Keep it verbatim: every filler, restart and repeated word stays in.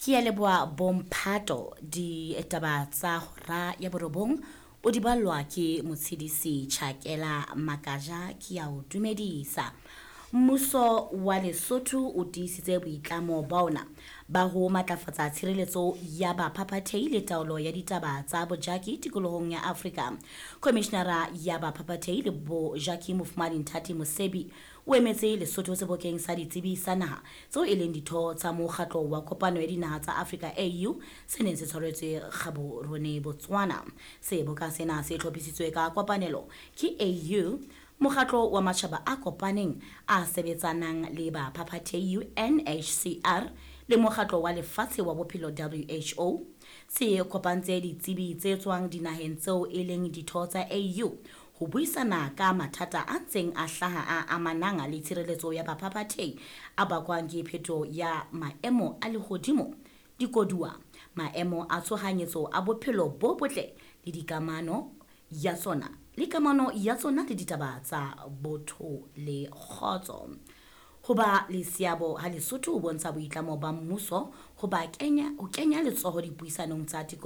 Ke a leboha bomphato. Ditaba tsa hora ya borobong o di ballwa ke Motshedisi Chakela Makaja. Ke a o dumedisa. Mmuso wa Lesotho o tiisitse boitlamo ba ona ba ho matlafatsa tshireletso ya baphaphathehi le taolo ya ditaba tsa bojaki tikolohong ya Afrika. Komishenara ya baphaphathehi le bojaki Mofumahadi Nthati Mosebi o emetse Lesotho sebokeng sa ditsebi sa naha tseo e leng ditho tsa mokgatlo wa kopano ya dinaha tsa Afrika A U se neng se tshwaretswe Gaborone, Botswana. Seboka sena se hlophisitswe ka kopanelo ke A U, mokgatlo wa matjhaba a kopaneng a sebetsanang le baphaphathehi U N H C R le mokgatlo wa lefatshe wa bophelo W H O. Se kopantse ditsebi tse tswang dinaheng tseo e leng ditho tsa A U ho buisana ka mathata a ntseng a hlaha a amanang le tshireletso ya baphaphathehi a bakwang ke phetoho ya maemo a lehodimo, dikoduwa, maemo a tshohanyetso a bophelo bo botle le dikamano ya tsona le kamano ya tsona le ditaba tsa botho le kgotso. Ho ba le seabo ha Lesotho ho bontsha boitlamo ba mmuso ho ba kenya ho kenya letsoho dipuisanong tsa tikoloho.